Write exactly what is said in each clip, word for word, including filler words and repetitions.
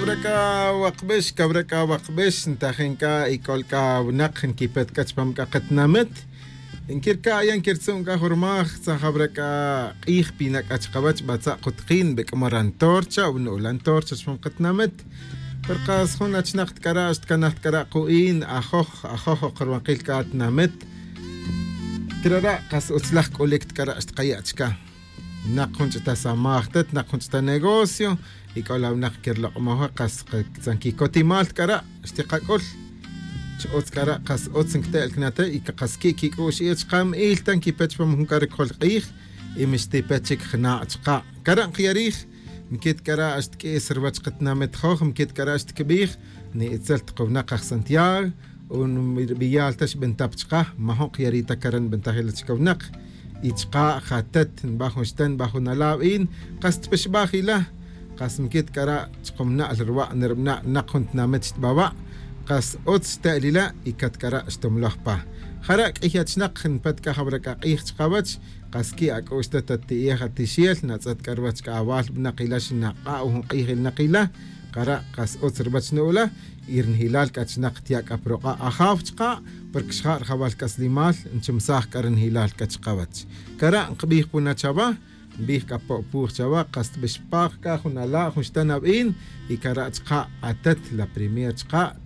Cawra c'a wakbex cawra c'a wakbex ntajin c'a y c'ol c'a winak nquipet c'a chupam c'a katinamit. Nquirca' ya nquirtzu'n c'a jurmaj tzajawra c'a k'ij pina' c'a chkawech batza' kutkin nbec'mo ra ntorcha o nu'lan torcha chupam katinamit. Pero kas jun achinak t'c'ara' xtcanaj t'c'ara' ku'in ajoj ajoj ok rwankil c'a tinamit. Crara' kas utzlaj c'ulic t'c'ara' xtkaya' chca. Nak jun ch'ita samaj tet nak jun ch'ita negocio y c'o la winak quirlok'moj wi kas tzan quicotimal c'ara' xtikac'ul. Chi utz c'ara' kas utz nquite'l cana te' y kas qui' quic'u'x iye chka' mi'il ta nquipe chupam jun c'a ricjol k'ij. Y mixtipe chic jna' chka' c'ara' nkiyarij. Nquit c'ara' xtq'uis ruwech katinamit joj nquit c'ara' xtqbij. Ni itzel ta ka winak aj santiago o nbiyal ta xbintap chka' majo' kiyari' ta cara' nbintaj ila chka winak. Y chka' jatet nba jun xten nba jun ala' win. Kas tpixbaj ila. Kas nquit c'ara' chkumna' la rwa' nrubna' nak jun tinamit xtbawa'. Kas utz xte'l ila' y cat c'ara' xtumloj pa. Jara' q'uiy achinak npet c'a jawra c'a k'ij chkawech. Kas qui' ac'u'x ta tat ti'ej atixel natz'et c'a ruwech c'a awal winak ila xinak'a' jun k'ij ilinak ila. Kara' kas utz ruwech nu'ula. Y ri njilal c'a chinak tiya' c'a pa ruk'a' ajaw chka'. Porque xja' rajawal c'aslimal nchumsaj c'a ri njilal c'a chkawech. Kara' nkbij puna chawa. Nbij c'a po'puj chawa kas tbixpaj c'a jun ala' jun xten awin. Y kara' chka' atet la primer chka'.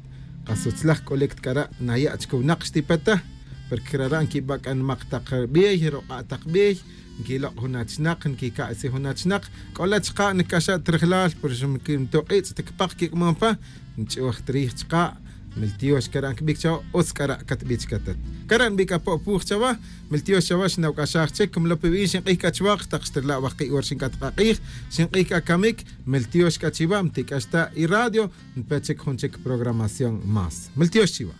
Kas utzlaj c'ulic ta c'ara' naya' chic winak xtipe ta. Porque rara' nquiba' c'a nimak tak bey ruk'a' tak bey. Nquilok' jun achinak nquica'si jun achinak. C'o la chka' nic'axa' ta rijlal pero xa ntuk'itz' ta cpak quic'mon pa. Nch'uj ta rij chka'. Miltiox c'a ra' nquibic chawa utz c'a ra' catbic chca tet. C'a ra' nbic apo' puj chawa. Miltiox chawa xnawc'axaj chic cumlo pe bin xink'ij c'a chwa tak xtirla' wajki' hora xinc'at k'a k'ij. Xink'ij c'a camic. Miltiox c'a chiwa mtic'ax ta y radio. Npe chic jun chic programación más miltiox chiwa.